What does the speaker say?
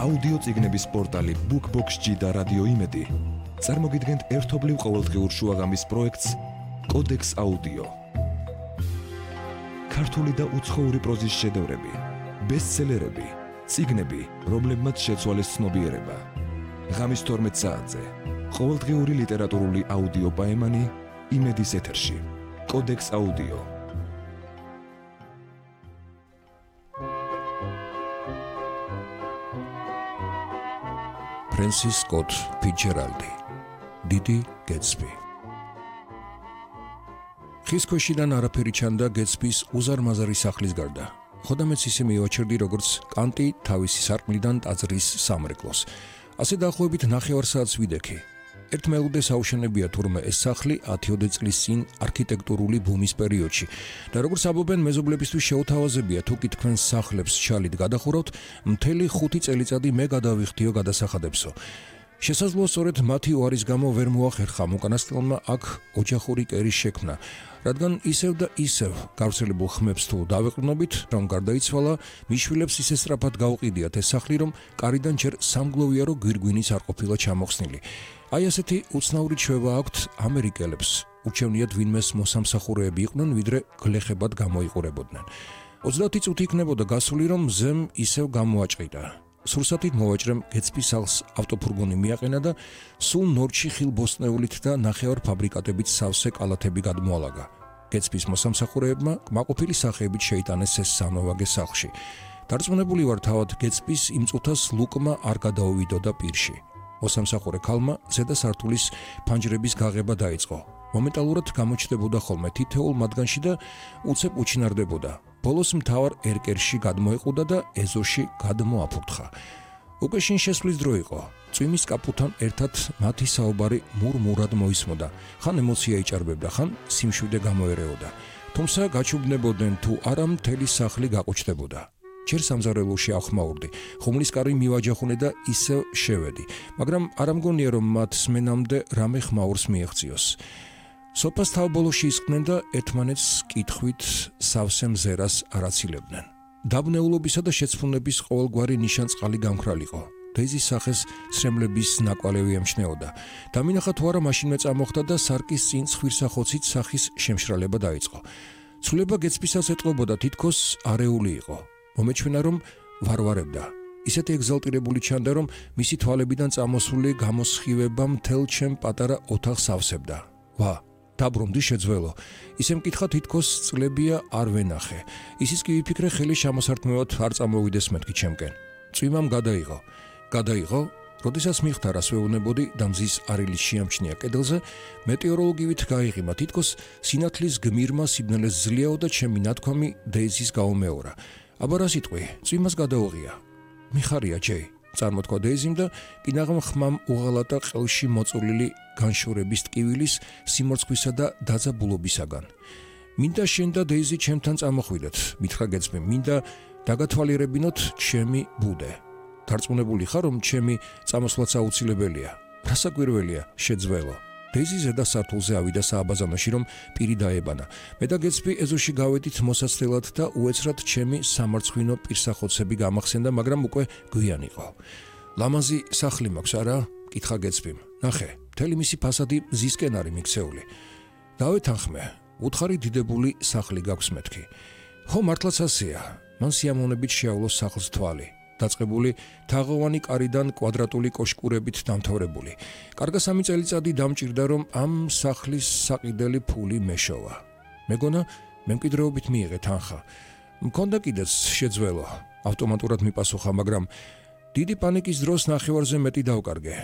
აუდიო წიგნების პორტალი BookBox-G და რადიო იმედი წარმოგიდგენთ ერთობლივ ყოველდღიურ შუაღამის პროექტს კოდექს აუდიო. ქართული და უცხოური პროზის შედევრები, ბესტსელერები, წიგნები, რომლებმაც შეცვალეს ცნობიერება. ღამის 12 საათზე ყოველდღიური ლიტერატურული აუდიო პაემანი იმედის ეთერში. კოდექს აუდიო. ფრენსის სკოტ ფიცჯერალდი, დიდი გეტსბი. ხის ქვეშიდან არაფერი ჩანდა გეტსბის უზარმაზარი სახლის გარდა. ხოდამეც ისე მივაჩერდი, როგორც კანტი თავისი სარკმლიდან ტაძრის სამრეკლოს. ასე დაახლოებით 9 საათს ვიდექი. ერთ მელუდეს აუშენებია თურმე ეს სახლი 10 წლის წინ არქიტექტურული ბუმის პერიოდში და როგორც ამბობენ მეზობლებისთვის შეუთავაზებია თუ კი თქვენ სახლებს ჩალით გადახურავთ, მთელი 5 წელიწადი მე გადავიხდიო გადასახადებსო. შესაძლოა სწორედ მათი უარის გამო ვერ მოახერხა უკანასკნელმა აქ ოჯახური კერის შექმნა, რადგან ისევ და ისევ გავრცელებულ ხმებს თუ დავეყრდნობით, რომ გარდაიცვალა, მის შვილებს ისე სწრაფად გაუყიდიათ ეს სახლი, რომ კარიდან ჯერ სამგლოვიარო გვირგვინიც არ ყოფილა ჩამოხსნილი. აი ასეთი უცნაური ჩვევა აქვთ ამერიკელებს. ურჩევნიათ ვინმეს მოსამსახურეები იყვნენ, ვიდრე გლეხებად გამოიყურებოდნენ. 30 წუთი იქნებოდა გასული, რომ მზემ ისევ გამოაჭყიდა. სურსათით მოვაჭრემ გეტსბის სახლს ავტოფურგონი მიაყენა და სულ ნორჩი ხილბოსტნეულით და ნახევარ ფაბრიკატებით სავსე კალათები გადმოალაგა. გეტსბის მოსამსახურეებმა კმაყოფილი სახეებით შეიტანეს ეს სანოვაგე სახლში. დარწმუნებული ვარ თავად გეტსბის იმ წუთას ლუკმა არ გადაუვიდოდა პირში. მოსამსახურე ქალმა ზედა სართულის ფანჯრების გაღება დაიწყო. მომენტალურად გამოჩნდებოდა ხოლმე თითოეულ მათგანში და უცებ უჩინარდებოდა. ბოლოს მთავარ ერკერში გადმოეყუდა და ეზოში გადმოაფურთხა. უკვე შინ შესვლის დრო იყო. წვიმის კაპუთან ერთად მათი საუბარი მურმურად მოისმოდა. ხან ემოცია იჭარბებდა, ხან სიმშვიდე გამოერეოდა. თუმცა გაჩუბნებოდნენ თუ არა მთელი სახლი გაყუჩდებოდა. ჯერ სამზარეულოში ავხმაურდი, ხუმლის კარი მივაჯახუნე და ისევ შევედი, მაგრამ არ ამგონია რომ მათ სმენამდე რამე ხმაურს მიეღწიოს. სოფას თავბოლოში ისხდნენ და ერთმანეთს კითხვით სავსე მზერას არაცილებდნენ. დაბნეულობისა და შეცფუნების ყოველგვარი ნიშანწყალი გამქრალიყო. დეიზის სახეს სრემლების ნაკვალევი ემჩნეოდა. დამინახა თუ არა მაშინვე წამოხდა და სარკის წინ ცხვირსახოცით სახის შემშრალება დაიწყო. ცვლილება გეტსბისაც ეტყობოდა, თითქოს არეული იყო. მომეჩვენა რომ ვარვარებდა. ისეთი ეგზალტირებული ჩანდა, რომ მისი თვალებიდან წამოსული გამოსხივება მთელ ჩემ პატარა ოთახს ავსებდა. ვა, დაბრუნდი შეძველო. ისე მკითხა თითქოს წლებია არ ვენახე. ისიც კი ვიფიქრე ხელი შემოსართმევად არ წამოვიდეს მეთქი ჩემკენ. წვიმამ გადაიღო, როდესაც მიხდა რას ვეუბნებოდი და მზის არილის შეამჩნია კედელზე, მეტეოროლოგივით გაიღიმა, თითქოს სინათლის გმირმა სიბნელეს ძლიაო და ჩემი ნათქვამი დეიზის გაუმეორა. აბა რა სიტყვი, წვიმას გადაუღია. მიხარია ჯეი, წარმოთქვა დეიზიმ და კინაღამ ხმამ უღალატა ყელში მოწოლილი განშორების ტკივილის სიმორცხვისა და დაძაბულობისაგან. მინდა შენ და დეიზი ჩემთან წამოხვიდეთ, მითხრა გეტსბიმ, მინდა დაგათვალიერებინოთ ჩემი ბუდე. დარწმუნებული ხარ, რომ ჩემი წამოსვლაც აუცილებელია. რა საკვირველია, შეძველო. დეიზი ზედა სართულზე ავიდა სააბაზანოში, რომ პირი დაებანა. მე და გეტსბი ეზოში გავედით მოსაცდელად და უეცრად ჩემი სამარცხვინო პირსახოცები გამახსენდა, მაგრამ უკვე გვიან იყო. ლამაზი სახლი მაქვს, არა? კითხა გეტსბიმ. ნახე, მთელი მისი ფასადი მზისკენ არის მიქცეული. დავეთანხმე, უთხარი დიდებული სახლი გაქვს მეთქი. ხო, მართლაც ასეა. მან სიამოვნებით შეავლოს სახლს თვალი. დაწყებული თაღოვანი კარიდან კვადრატული კოშკურებით დამთავრებული. კარგა 3 წელიწადი დამჭირდა, რომ ამ სახლის საყიდელი ფული მეშოვა. მეგონა მემკვიდრეობით მიიღე თანხა. მქონდა კიდეც შეძველო. ავტომატურად მიპასუხა, მაგრამ დიდი პანიკის დროს ნახევარზე მეტი დავკარგე.